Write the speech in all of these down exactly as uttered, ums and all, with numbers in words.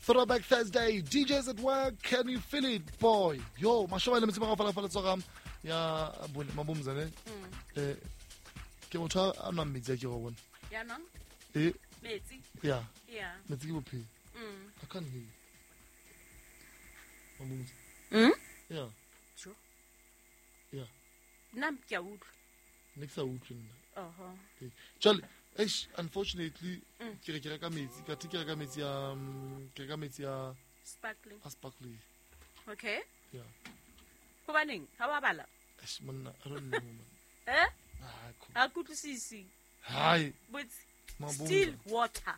Throwback Thursday, D Js at work, can you feel it, boy? Yo, mashoba le mtsima ka fala fala ya mabumzane. Eh ke motho a nwa metsi a ke go bona. Ya nwa? Eh metsi. Yeah. Yeah. Metsi ke bophelo. Mm. I can't hear you. Mabumza. Mm? Yeah. Sure. Yeah. Nna ke a utlwa. Ne ke sa utlwe nna. Oho. Jwale eish, unfortunately ke re ke reka metsi, ka ke reka metsi a ke reka metsi a sparkling. A sparkling. Okay. Yeah. Hobaneng ha wa bala? Eish monna, I don't know man. Eh? Ah, cool. Ha kutlwisisi. Hi. But still water.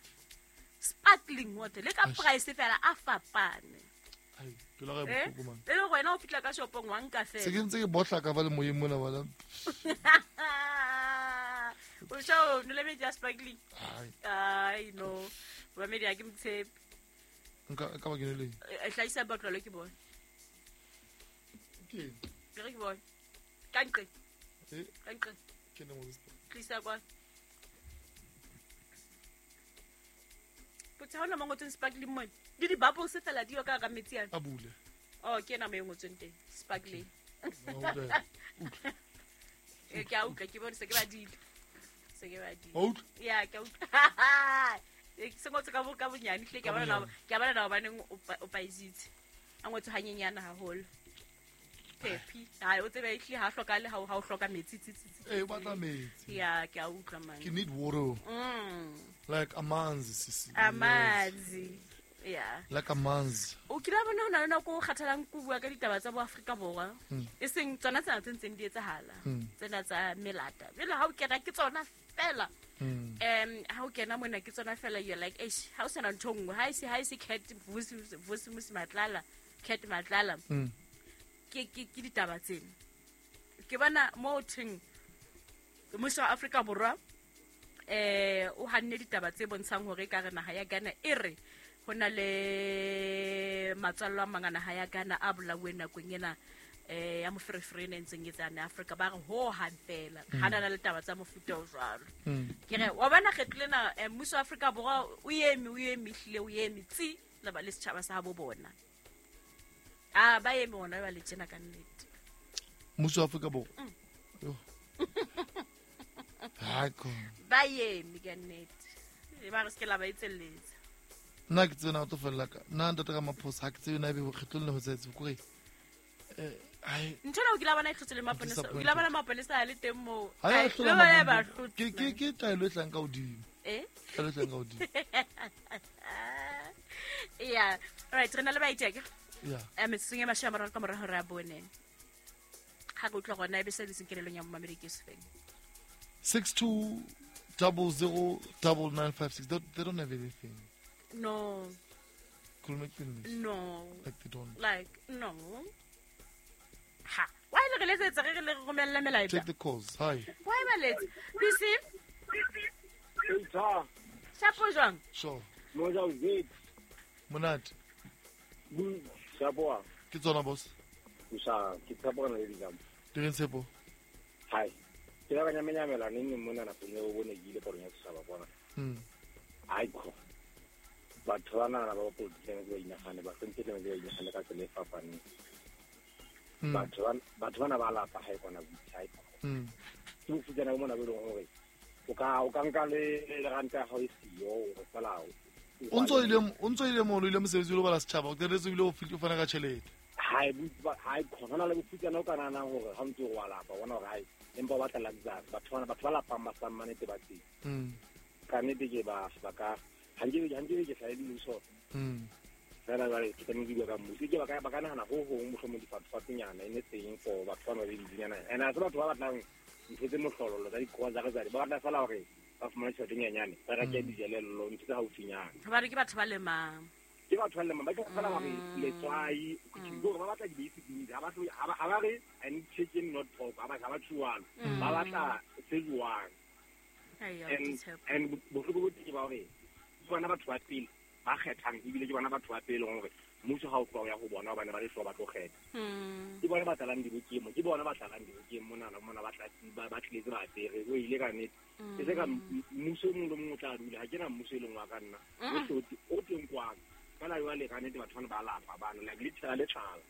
Sparkling water. Le ka price fela a fapane. Ai, ke la re bohloko man. Le le wena o fitla ka shopong wa nka fela. Se ke ntse ke botla ka ba le moyeng mona bala. O show no le metsi a sparkling. Ai. Ai no. Ba media ke mtshepe. Nka ka ba ke le. E hlaisa botlolo ke bone. Ke. Ke re ke bone. Ka nqe. Eh. Ka nqe. Ke ne mo tlisa kwa. Potsa hona mo ngotseng sparkling mo. Di di bubbles fela di yo ka ka metsi ana. A bule. Oh, ke ena mo e ngotseng teng. Sparkling. E ke a utlwa ke bone se ke badile. Se ke badile. O utlwa? Yeah, ke a utlwa. Se ngotse ka bo ka bonyane hle ke a bona ke a bona na hobaneng o paisitse. A ngotse hanyenyana haholo. Pepi. Hai o tsebe ehle ha hloka le ha o hloka metsi tsi tsi. Eh o batla metsi. Yeah, ke a utlwa man. Ke need water. Mm. Like amanzi sisi. Amanzi. Yeah. Like amanzi. O kila bona hona le nako o kgathalang ko bua ka ditaba tsa bo Afrika Borwa. E seng tsona tsena tse ntseng di etsahala. Tsena tsa melata. Jwale ha o kena ke tsona fela. Um ha o kena mona ke tsona fela you're like eish ha o sena ntho nngwe ha e se ha e se cat vusi vusi musi matlala cat matlala. Ke ke ke ditaba tsena. Ke bona mo theng mmuso wa Afrika Borwa eh o hanne ditaba tse bontshang hore ka re naha ya Ghana e re hona le matswallo a mang a naha ya Ghana a bolauwe nakong ena eh ya moferefere e ntseng e tsana Afrika ba re ho hang fela hana na le taba tsa mofuta o jwalo. Ke re wa bona kgetlo lena mmuso wa Afrika Borwa o eme o eme hlile o eme tsi le ba le setjhaba sa bo bona. Ah ba eme ona ba le tjena ka nnete. Mmuso wa Afrika Borwa. Yo. Ha ko. Ba eme ka nnete. E ba re se ke la ba etselletsa. Nna ke tsena o tlo fella ka nna ntate ka maphosa ha ke tsebe na ebe kgetlong le ho tsetse kore eh ai ntho ena o kila bona e hlotse le maponesa o kila bona maponesa a le teng moo ai le ba hlotse ke ke ke taelo e tlang ka hodimo eh taelo e tlang ka hodimo. Yeah, all right, re na le baiteke. Yeah. Eh metsotsong e mashome a mararo ka mora hora ya bone. Ha re utlwa gona ebe se le senkelelong ya momamedi ke sefeng. six two double zero double nine five six. They, they don't have anything. No. No. Like they don't. Like no. Ha. Why le re letsetsa re le romella melaetsa? Take the calls. Hi. Why ba letsa? Bisi? Shapo jwang? Sure. Moja o zet. Monate. Bu shapo. Ke tsona boss. Usha ke tshepo na le dijam. Di reng tshepo? Hi. Ke ba nyamenyamela neng neng mona nakong eo bone ke ile porong ya setjhaba bona. Mm. Ai ko. Batho ba nana ba politiki ba inagane ba sentse le ba inagane ka tsela e fapaneng. Batho ba batho bana ba lapa ha e kona boitshai. Mm. Ke bofutsana bo mona bo leng hore o ka o ka nka le le ranta ya hao e siyo o fela o. O ntso ile o ntso ile mo ile mosebetsi o lo bala setjhaba o qetetse o ile o fitla o fana ka tjhelete. Ha e ha e khona na le bofutsana o ka nana hore ha ntse o wa lapa bona hore hai empa ba batla luxury batho bana batho ba lapang ba sa mmanete ba teng. Mm. Ka nnete ke ba ba ka ha nke ha nke ke sa le mmuso. Mm. Fela jwale ke tlamehile ke bua ka mmuso ke ba ka ba ka nahana ho hong mohlomong difatfatsenyana e ne teng for batho ba ba le dinyana and a se batho ba batlang ntho tse mohlololo tsa dikgoa tsa ba batla fela hore ba fumane tjhelete e nyenyane ba reke dijelello ntho tse haufinyana. Hobane ke batho ba lemang. Ke batho ba lemang ba ke fela hore letswai ke ba batla di-basic needs ha ba ha ba re I need chicken not pork ha ba ha ba tshwana ba batla se jwang. And and bohloko bo teng ba hore ke bona batho ba pele ba kgethang ebile ke bona batho ba pele hore mmuso ha o tloha ya ho bona hobane ba le hloka ba tlo kgetha. Ke bona ba tlalang dibokeng, ke bona ba tlalang dibokeng mona mona ba tla ba tletse ba apere o ile ka nnete. E se ka mmuso o mong le mong o tla dula ha ke na mmuso e leng wa ka nna o hlotse o teng kwano. Fela jwale ka nnete batho bana ba lapa bana like le tshela le tlala.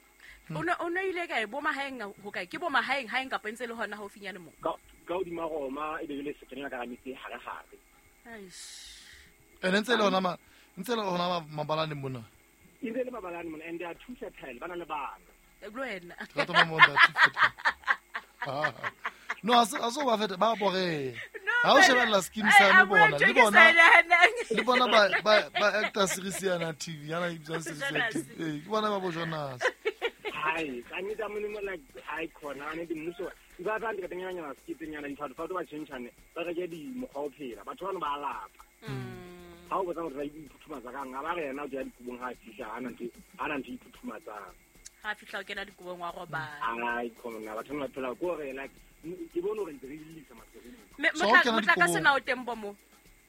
O ne o ne ile kae bo mahaeng ho kae ke bo mahaeng haeng kapa ntse le hona haufinyane mo? Ka ka hodima Roma e be le sekenela ka metse hare hare. Eish. Ene ntse le hona ma ntse le hona mabalane mona. E ntse le mabalane mona and they are too fertile bana le bana. Le wena. Ka toma mo nda too fertile. No aso aso ba feta ba bore. Ha o shebella skin sa le bona le bona le bona ba ba ba actor series yana T V yana e bitswa series ya T V. Eh ke bona ba bo Jonas. Hai ka nnete mo like hai khona ane di mmuso ba ba ndi ka tenganya nyana skip nyana di fatho ba tshentshane ba re ke di mokgwa o phela batho bana ba lapa. Ha o botsa hore ba iphuthumatsa kang ga ba re yena o ja dikobong ha fihla ha na ntho ha na ntho iphuthumatsang. Ha fihla o kena dikobong wa robala. Ai khona batho ba phela ko re like ke bone hore ntse re illisa masereng. Motlakase na o teng bo mo?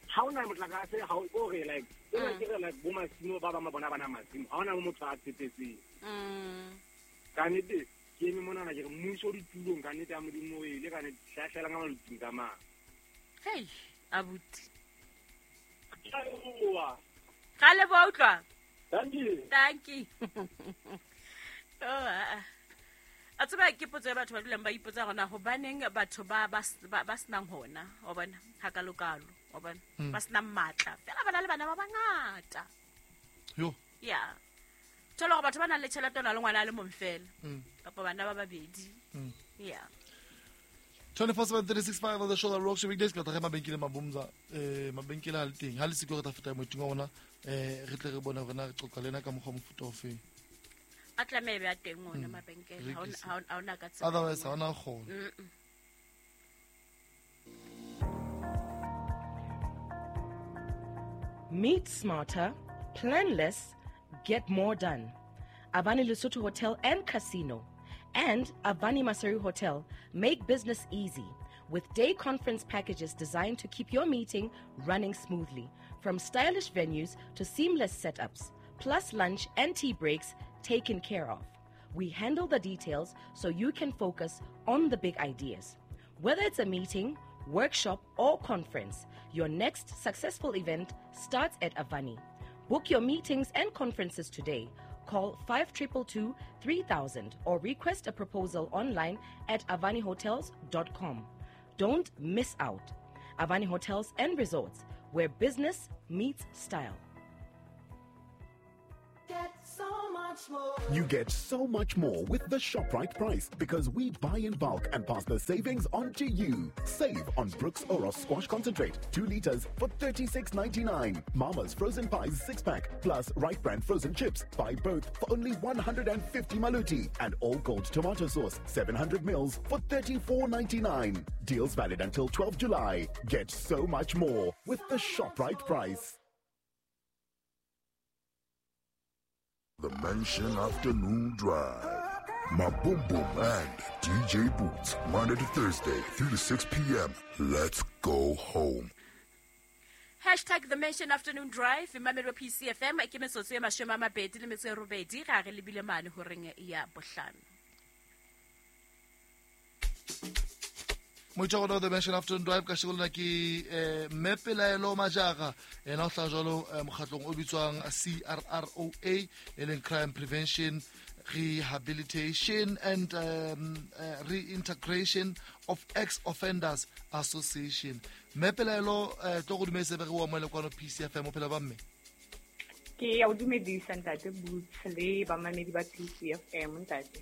Ha ona motlakase ha o re like ke re ke re like bo masimo ba ba ma bona bana masimo ha ona motho a tshepetseng. Mm. Ka nnete ke eme mona na ke re mmuso ditulong ka nnete ya Modimo e le ka nnete hlahlela ka maluting ka mang. Hey abuti. Ga le bo utlwa. Thank you. Thank you. Oh a tseba ke potso ya batho ba dulang ba ipotsa gona hobaneng batho ba ba ba senang hona o bona ha ka lokalo o bona ba senang matla fela bana le bana ba bangata. Yo. Yeah. Thola gore batho ba nang le tjhelete ona le ngwana a le mong fela kapa bana ba babedi. Yeah. twenty-four seven three six five on the show that rocks weekdays ka tla mabenkele mabumza eh mabenkele a le teng ha le siko re tla feta moeting wa rona eh re tle re bone hore na re qoqa lena ka mokgwa mofuta ofe. A tlameha be a teng ona mabenkele ha ha ona ka tsela. Otherwise ha ona kgona. Meet smarter, plan less, get more done. Avani Lesotho Hotel and Casino and Avani Maseru Hotel make business easy with day conference packages designed to keep your meeting running smoothly, from stylish venues to seamless setups, plus lunch and tea breaks taken care of. We handle the details so you can focus on the big ideas. Whether it's a meeting, workshop, or conference, your next successful event starts at Avani. Book your meetings and conferences today. Call five two two two three thousand or request a proposal online at avani hotels dot com. Don't miss out. Avani Hotels and Resorts, where business meets style. Get so much more. You get so much more with the ShopRite price because we buy in bulk and pass the savings on to you. Save on Brooks Oros Squash Concentrate, two liters for thirty-six ninety-nine. Mama's Frozen Pies six pack plus Right Brand Frozen Chips. Buy both for only one hundred fifty maluti. And All Gold Tomato Sauce, seven hundred mils for thirty-four ninety-nine. Deals valid until twelfth July. Get so much more with the ShopRite price. The Mansion Afternoon Drive. My Boom Boom and D J Boots, Monday to Thursday, three to six p.m. Let's go home. Hashtag The Mansion Afternoon Drive. Mamelo P C F M. Ke metsotso e mashome a mabedi le metso e robedi ga re lebile mane horeng ya bohlano. Moitšwa The Mansion Afternoon Drive ka shego ke eh mme Pelaelo Majara ena o tla jalo mokgatlong o bitswang C R R O A e leng Crime Prevention, Rehabilitation and um, uh, Reintegration of Ex-Offenders Association. Mme Pelaelo eh tlo go dumedisa be re wa moele kwano P C F M o phela ba mme. Ke ya o dumedisa ntate Boots le bamamedi ba P C F M ntate.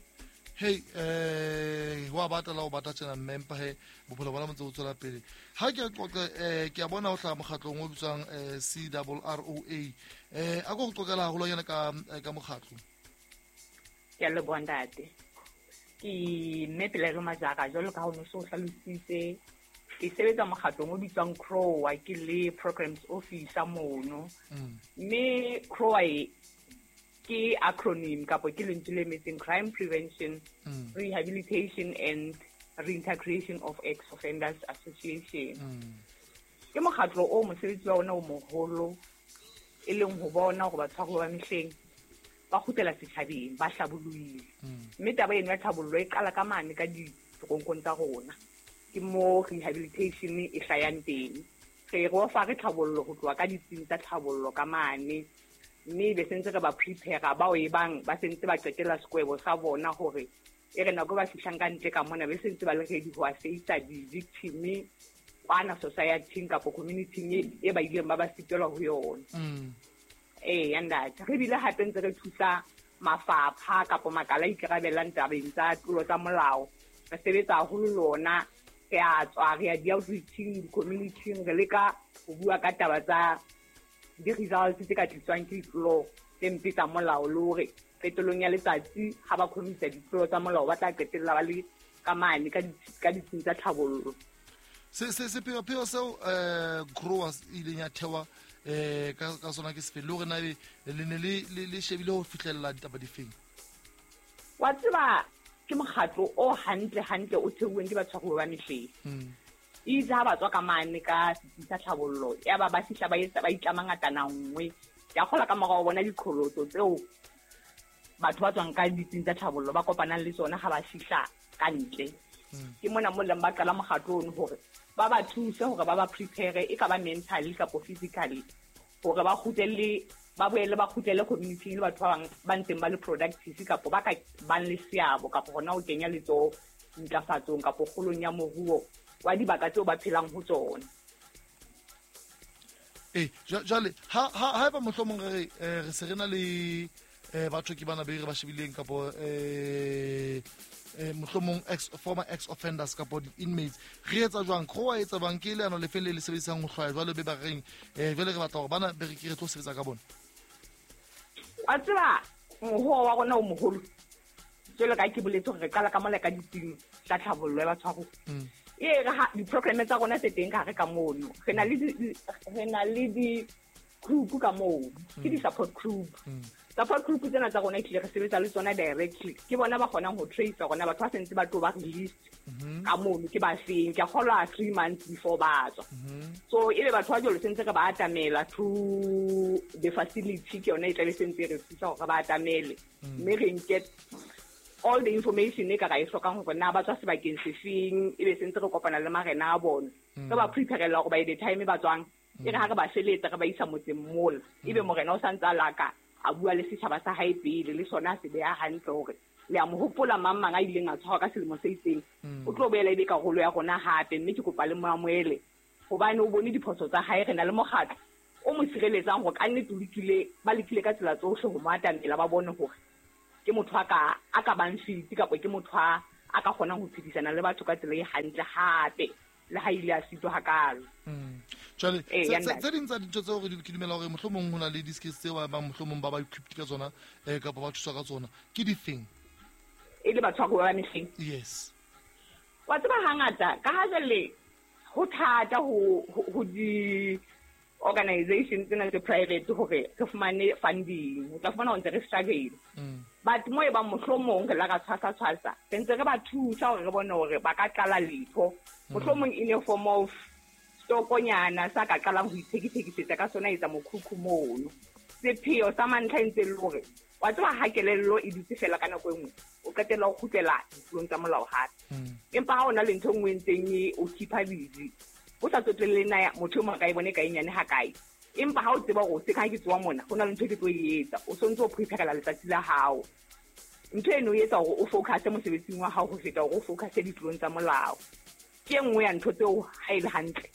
Hey, eh wa batla o batla tjena mme mpa he bophelo bona ntse o tswela pele. Ha ke qoqe eh ke a bona o tla mokgatlong o bitswang C R R O A. Eh a go qoqela haholo yena ka ka mokgatlo. Ke a leboha ntate. Ke mme Pelaelo Majara jwalo ka ha o no so hlalositse. Ke sebetsa mokgatlong o bitswang C R O A ke le programs officer mono. Mme C R O A ke acronym kapo ke lentswe le emetseng Crime Prevention, mm. Rehabilitation and Reintegration of Ex-Offenders Association. Mm. Ke mokgatlo o mosebetsi wa ona o moholo e leng ho bona hore batshwaruwa ba mehleng ba kgutlela setjhabeng ba hlabollohile. Mme taba eno ya tlhabollo e qala ka mane ka ditoronkong tsa rona. Ke mo rehabilitation e hlayang teng. Re re ofa re tlhabollo ho tloha ka ditsing tsa tlhabollo ka mane. Mme be sentse re ba prepare bao e bang ba sentse ba qetela sekwebo sa bona hore e re nako ba fihlang ka ntle ka mona be sentse ba le ready ho face di-victim kwana society kapo community e ba ileng ba ba sitelwa ho yona. Eh ntate, re bile hape ntse re thusa mafapha kapo makala a ikarabellang tabeng tsa tlolo tsa molao. Re sebetsa haholo lona, re a tswa re ya di-outreaching, di-community-ing, re leka ho bua ka taba tsa di-results tse ka tliswang ke ditlolo tse mpe tsa molao, le hore qetellong ya letsatsi ha ba commit-a ditlolo tsa molao ba tla qetella ba le ka mane ka ka ditsing tsa tlhabollo. Se se sepheo seo eh growers ileng ya thewa eh ka ka sona ke sefe, le hore na le ne le le shebile ho fihlella ditaba difeng? Wa tseba ke mokgatlo o hantle hantle o theuweng ke batshwaruwa ba mehleng. Itse ha ba tswa ka mane ka setsi sa tlhabollo ya ba ba fihla ba etsa ba itlama ngatana nngwe. Ya kgola ka morao bona diqholotso tseo batho ba tswang ka ditsing tsa tlhabollo ba kopanang le tsona ha ba fihla ka ntle. Ke mona mo leng ba qala mokgatlo ono hore ba ba thuse hore ba ba prepare e ka ba mentally kapo physically hore ba kgutlele ba boele ba kgutlele community le batho ba bang ba ntseng ba le productive kapo ba ka bang le seabo kapo hona ho kenya letsoho ntlafatsong kapo kgolong ya moruo wa dibaka tseo ba phelang ho tsona. Eh jwale ha ha haeba mohlomong re re se re na le eh batho ke bana be re ba shebileng kapo eh mohlomong ex former ex offenders kapo di inmates, re etsa jwang? Go etsa bang ke leano le feng le le sebedisang ho hlwaya jwale be ba reng eh jwale re batla hore bana be re ke re tlo sebetsa ka bona? Wa tseba mohoa wa rona o moholo jwalo ka ke boletse hore re qala ka mola ka ditsing tsa tlhabollo ya batshwaruwa. E re ha di-program tsa rona tse teng ka hare ka mono, re na le re na le di-group ka moo, ke di-support group. Support group tsena tsa rona ehlile re sebetsa le tsona directly. Ke bona ba kgonang ho trace rona batho ba sentse ba tlo ba released ka mono ke ba feng. Ke a kgolwa three months before ba tswa. So ebe batho ba jwalo sentse re ba atamela through the facility, ke yona e tlabe sentse re thusa hore ba atamele. Mme re nke all the information e ka ra e hlokang hore na ba tswa sebakeng sefeng, ebe sentse re kopana le marena a bona. Re ba prepare-ela hore by the time ba tswang, e re ha re ba feletsa re ba isa motseng mola, ebe morena o santse a laka a bua le setjhaba sa hae pele, le sona se beha hantle hore le a mo hopola mang mang a ileng a tshwarwa ka selemo se itseng, o tlo boela ebe karolo ya rona hape. Mme ke kopa le mo amohele hobane o bone diphoso tsa hae. Re na le mokgatlo o mo sireletsang hore ka nnete o lekile, ba lekile ka tsela tsohle ho mo atamela, ba bone hore ke motho a ka a ka bang fit kapa ke motho a a ka kgonang ho phedisana le batho ka tsela e hantle hape le ha ile a sitwa hakalo. Jwale tse ding tsa dintho tseo re ke dumela hore mohlomong ho na le di-skills tseo ba bang mohlomong ba ba equipped ka tsona eh kapa ba thuswa ka tsona ke difeng? E le batho ba mehleng? Yes. Wa tseba hangata ka ha jwale ho thata ho ho di organization tsena tse private hore re fumane funding, o tla fumana ho ntse re struggle. But mo e bang mohlomong re la ka tshwasa tshwasa re ntse re ba thusa hore re bone hore ba ka qala letho, mohlomong in a form of stokonyana sa ka qalang ho ithekithekisetsa ka sona, etsa mokhukhu mono. Sepheo sa mantlha e ntse le hore wa tseba ha kelello e dutse fela ka nako e nngwe o qetella o kgutlela ditlolong tsa molao hape. Empa ha o na le ntho e nngwe e ntseng e o keep-a busy, o sa tsotelle na motho e mong a ka e bone ka e nyane hakae, empa ha o tseba hore o se ka ha ke tsoa mona ho na le ntho e ke tlo e etsa, o sontse o prepare-ela letsatsi la hao. Ntho eno e etsa hore o focus mosebetsing wa hao ho feta hore o focus ditlolong tsa molao. Ke e nngwe ya ntho tseo ha e le hantle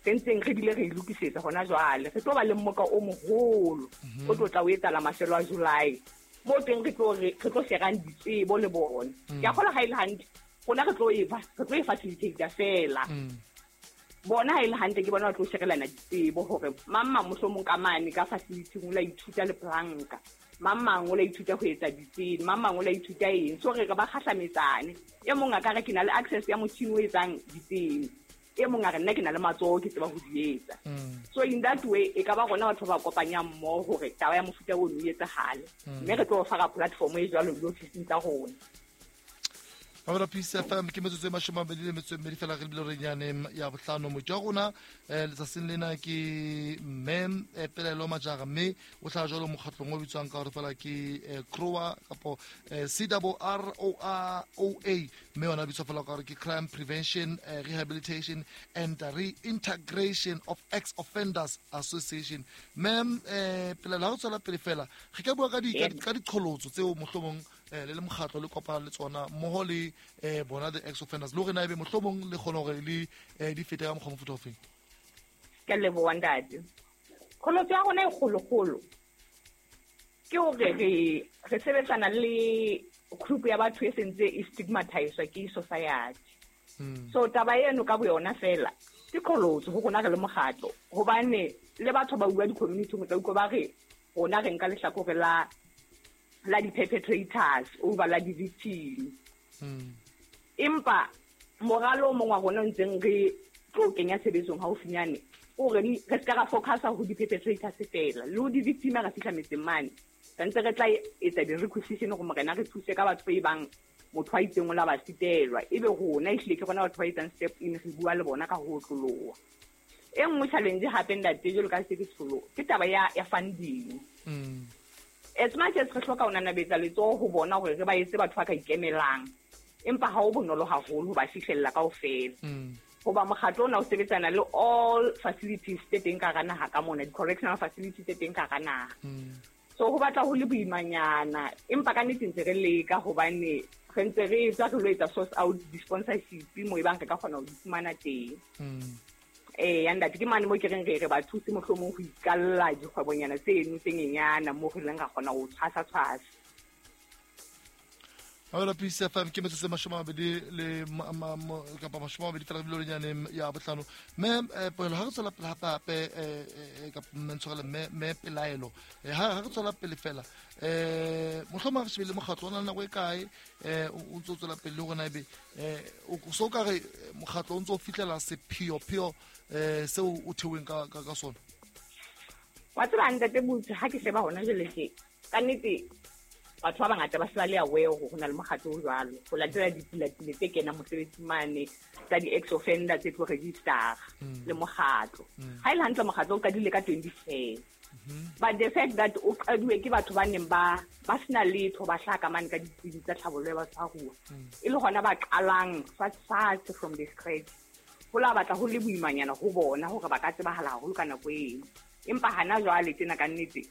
re ntseng re bile re e lokisetsa hona jwale. Re tlo ba le mmoka o moholo o tlo tla o etsahala mafelo a July, mo teng re tlo re tlo sherang ditsebo le bona. Ke a kgolwa ha e le hantle rona re tlo e re tlo e facilitate fela. Bona ha e le hantle ke bona ba tlo sherelana ditsebo hore mang mang mohlomong ka mane ka facility o la ithuta leplanka, mang mang o la ithuta ho etsa ditsene, mang mang o la ithuta eng. So re re ba kgahlametsane, e mong a ka re ke na le access ya motjhini o etsang ditsene, e mong a re nna ke na le matsoho ke tseba ho di etsa. So in that way e ka ba rona batho ba kopanyang mmoho hore taba ya mofuta ono e etsahale, mme re tlo fara platform e jwalo diofising tsa rona. Mamela Peace F M ke metsotso e mashome a mabedi le metso e mmedi fela re lebile re nyane ya bohlano. Moeti wa rona eh letsatsing lena ke mme eh, Pelaelo Majara, mme o hlaha jwalo mokgatlong o bitswang ka hore fela ke eh, C R O A kapo eh, C R R O A O A, mme yona bitswa fela ka hore ke Crime Prevention eh, Rehabilitation and Reintegration of Ex-Offenders Association. Mme eh, Pelaelo, ha re tswela pele fela re ka bua ka di ka diqholotso tseo mohlomong eh le le mokgatlo le kopana le tsona mmoho le eh bona the ex offenders, le hore na ebe mohlomong le kgona hore le eh di fete ka mokgwa mofuta ofeng? Ke a leboha ntate. Qholotso ya rona e kgolokgolo ke hore re re sebetsana le group ya batho e sentse e stigmatizwa ke society. So taba eno ka boyona fela ke qholotso ho rona re le mokgatlo, hobane le batho ba bua di-community ho tla utlwa ba re rona re nka lehlakore la la di-perpetrators over la di-victim. Empa moralo o mong wa rona o ntseng re tlo kenya tshebetsong haufinyane o re re ska ra focusa ho di-perpetrators fela le ho di-victim ha re fihla metseng mane, santse re tla etsa di-requisition hore morena re thuse ka batho ba bang motho a itseng o la ba sitelwa, ebe rona ehlile ke rona batho ba etsang step in re bua le bona ka ho otloloha. E nngwe challenge hape ntate jwalo ka se ke tsholo ke taba ya ya funding. As much as re hloka ho nanabetsa letsoho ho bona hore re ba etse batho ba ka ikemelang, empa ha ho bonolo haholo ho ba fihlella kaofela. Hoba mokgatlo ona o sebetsana le all facilities tse teng ka hara naha ka mona, di-correctional facilities tse teng ka hara naha. So ho batla ho le boimanyana, empa ka nnete ntse re leka hobane re ntse re tswa re lo etsa source out di-sponsorship mo ebang re ka kgona ho di fumana teng. Eh ya ntate ke mane mo ke reng re re ba thuse mohlomong ho ikalla dikgwebonyana tseno tse nyenyana mo re leng ra kgona ho tshwasa tshwasa. Mamela Peace F M ke metsotso e mashome a mabedi le kapa mashome a mabedi fela re bile nyane ya bohlano. Mme Pelaelo, ha re tswela pele hape hape eh kapa mme ntshwarele mme mme Pelaelo, ha re tswela pele fela eh mohlomong re shebile mokgatlo o na le nako e kae eh o ntso tswela pele le hore na ebe eh so ka re mokgatlo o ntso fihlela sepheo-pheo eh seo o theweng ka ka sona? Wa tseba ntate Butse, ha ke sheba hona jwale tje ka nnete batho ba bangata ba se ba le aware hore ho na le mokgatlo o jwalo, ho latela dipulatile tse kenang mosebetsi mane tsa di-ex-offender tse tlo register le mokgatlo. Ha e le hantle mokgatlo o qadile ka twenty ten, but the fact that o qaduwe ke batho ba neng ba ba sena letho ba hlaka mane ka ditsebi tsa tlhabollo ya batshwaruwa, e le hona ba qalang fatshe from the scratch, ho la batla ho le boimanyana ho bona hore ba ka tsebahala haholo ka nako eno. Empa hana jwale tjena ka nnete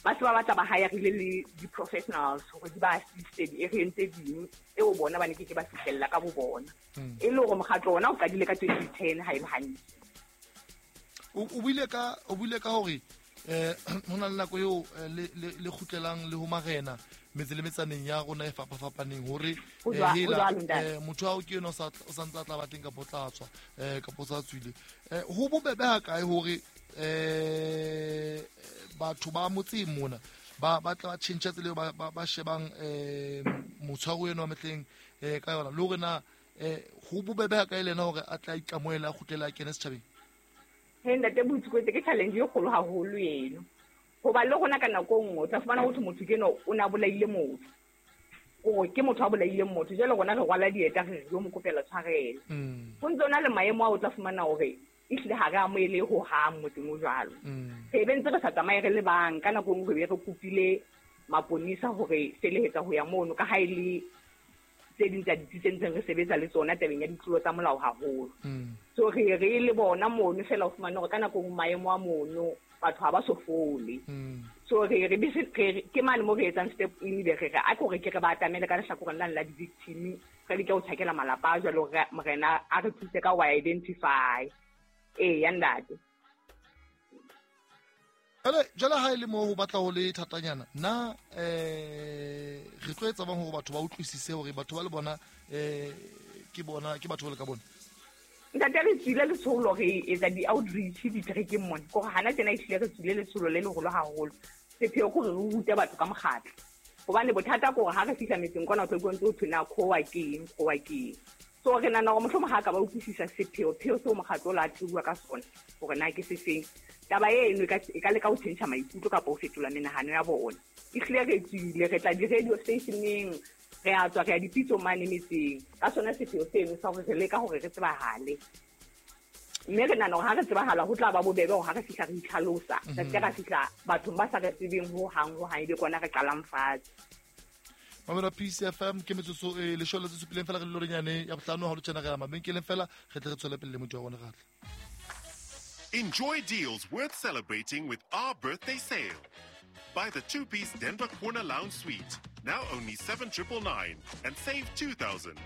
ba se ba batla ba hirile le di-professionals hore di ba assiste di-area tse ding eo bona ba ne ke ke ba fihlella ka bo bona. E le hore mokgatlo ona o qadile ka twenty ten ha e le hantle. O buile ka o buile ka hore eh ho na le nako eo le le kgutlelang le ho marena metse le metsaneng ya rona e fapafapaneng hore hela motho ao ke yena o sa o santse a tla ba teng kapa o tla tswa eh kapa o sa tswile. Ho bobebe ha kae hore eh batho ba motseng mona ba ba tla ba tjhentjha tsela eo ba ba shebang eh motshwaro eno wa mehleng eh ka yona, le hore na eh ho bobebe ha kae le yena hore a tla ikamohela a kgutlele a kene setjhabeng? He ntate Butse, ke challenge e kgolo haholo eno, hoba le rona ka nako e nngwe o tla fumana hore motho ke eno o na bolaile motho, hore ke motho a bolaileng motho, jwale rona re rwala dieta re yo mo kopela tshwarelo. Ho ntse o na le maemo ao o tla fumana hore ehlile ha re amohele ho hang motseng o jwalo. Re be ntse re sa tsamaye re le bang, ka nako e nngwe re be re kopile maponesa hore felehetsa ho ya mono, ka ha e le tse ding tsa ditsi tse ntseng re sebetsa le tsona tabeng ya ditlolo tsa molao haholo. So re re le bona mono fela o fumane hore ka nako e nngwe maemo a mono batho ha ba so fole. So re re ke mane mo re etsang step in, be re re a ke hore ke re ba atamele ka lehlakoreng lane la di-victim, re leke ho tjhakela malapa a jwalo hore morena a re thuse ka ho identify. Eh ya ntate. Jwale jwale ha e le moo ho batla ho le thatanyana na eh re tlo etsa bang hore batho ba utlwisise hore batho ba le bona eh ke bona ke batho ba le ka bona? Ntate re tswile letsholo re etsa di-outreach diterekeng mona, kore hana tjena ehlile re tswile letsholo le leholo haholo. Sepheo ke hore re rute batho ka mokgatlo, hobane bothata ke hore ha re fihla metseng kwana o tla utlwa ntse ho thwe na C R O A ke eng, C R O A ke eng. So re nahana hore mohlomong ha ka ba utlwisisa sepheo-pheo seo mokgatlo o la theuwa ka sona hore na ke sefeng, taba eno e ka leka ho tjhentjha maikutlo kapa ho fetola menahano ya bona. Ehlile re tswile re tla di-radio stationeng, Re a tswa re ya dipitso mane metseng ka sona sepheo seno sa hore re leka hore re tsebahale. Mme re nahana hore ha re tsebahala ho tla ba bobebe hore ha re fihla re itlhalosa, re se ke ra fihla bathong ba sa re tsebeng hohang hohang, ebe kona re qalang fatshe. Mamela P C F M ke metsotso e leshome le tse supileng fela re le lorenyane ya bohlano ha lo tjena re ya mabenkeleng fela re tle re tswele pele le motho wa rona re tle. Enjoy deals worth celebrating with our birthday sale. Buy the two-piece Denver Corner Lounge Suite, now only seven triple nine, and save two thousand.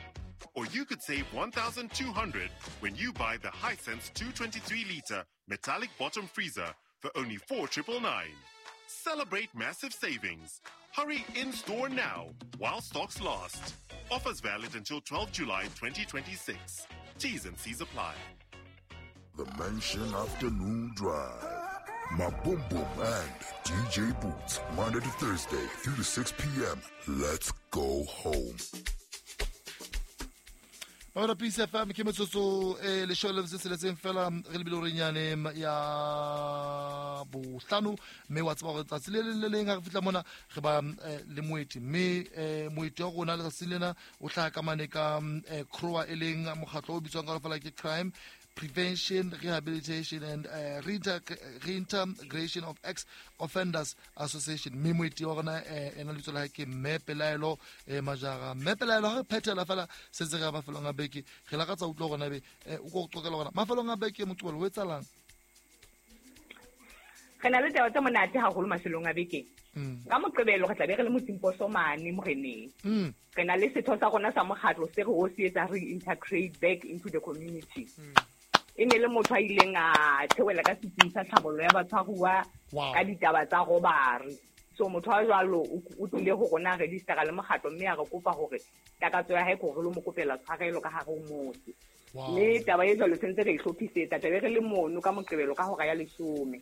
Or you could save one thousand two hundred when you buy the Hisense two twenty-three liter metallic bottom freezer for only four triple nine. Celebrate massive savings. Hurry in-store now while stocks last. Offers valid until twelfth July twenty twenty-six. T's and C's apply. The Mansion Afternoon Drive. Maboom and D J Boots, Monday to Thursday, three to six p.m. Let's go home. Mamela P C F M ke metsotso e leshome le metso e tsheletseng fela re lebile horenyane ya bohlano, mme wa tseba hore tsatsi le leng le leng ha re fihla mona re ba le moeti, mme moeti wa rona letsatsi lena o hlaha ka mane ka C R O A, e leng mokgatlo o bitswang ka fela ke Crime Prevention, Rehabilitation and uh, Reintegration of Ex-Offenders Association. Mme moeti wa rona ena lebitso la hae ke Mme Pelaelo Majara. Mme Pelaelo, ha re phethela fela setse re ya mafelong a beke, re lakatsa utlwa hore na ebe o ko qoqela hore mafelong a beke Moqebelo ho etsahalang? Re na le taba tse monate haholo mafelong a beke. Ka Moqebelo re tla be re le Motsimposo mane moreneng. Re na le setho sa rona sa mokgatlo se re o se etsa re integrate back into the community. E ne le motho a ileng a theohela ka setsing sa tlhabollo ya batshwaruwa ka ditaba tsa robbery. So motho wa jwalo o tlile ho rona registera le mokgatlo, mme a re kopa hore takatso ya hae ke hore lo mo kopela tshwarelo ka hare ho motse. Mme taba e jwalo sentse re e hlophisetsa, tlabe re le mono ka Moqebelo ka hora ya leshome.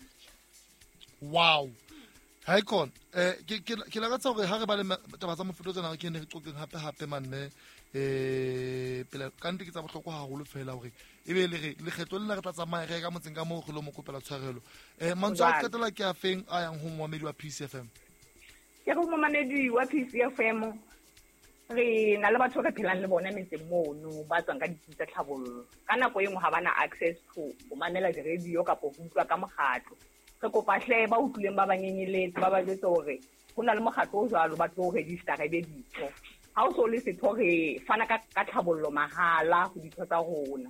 Wow. Ha ikon eh ke ke lakatsa hore ha re ba le taba tsa mofuta tsena ke ne re qoqeng hape hape manne eh pele ka nnete ke tsa bohlokwa haholo fela hore ebe le re lekgetlo lena re tla tsamaya re ka motseng ka moo re lo mo kopela tshwarelo. Eh mantswe a qetela ke a feng a yang ho momamedi wa P C F M? Ke go momamedi wa P C F M, re na le batho re phelang le bona metseng mono ba tswang ka ditsi tsa tlhabollo. Ka nako e nngwe ha bana access to ho mamela di-radio kapa ho utlwa ka mokgatlo. Re kopa hle ba utlwileng ba ba nyenyeletse ba ba jwetse hore ho na le mokgatlo o jwalo ba tlo register-a ebe ditho. Ha o so le setho re fana ka ka tlhabollo mahala ho ditho tsa rona.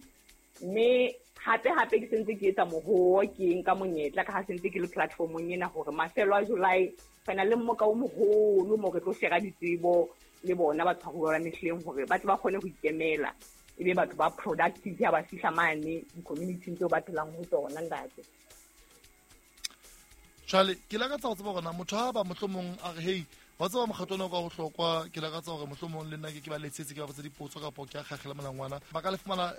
Mme hape hape ke sentse ke etsa mohoo ke nka monyetla ka ha sentse ke le platformong ena hore mafelo a July re na le mmoka o moholo mo re tlo shera ditsebo le bona batshwaruwa ba mehleng hore ba tle ba kgone ho ikemela ebe batho ba productive ha ba fihla mane di-community-ing tseo ba phelang ho tsona ntate. Jwale ke lakatsa ho tseba hore na motho ha ba mohlomong a re hey wa tseba mokgatlo ona o ka bohlokwa, ke lakatsa hore mohlomong le nna ke ke ba letsetse ke ba botse dipotso kapa ke a kgakgela molangwana, ba ka le fumana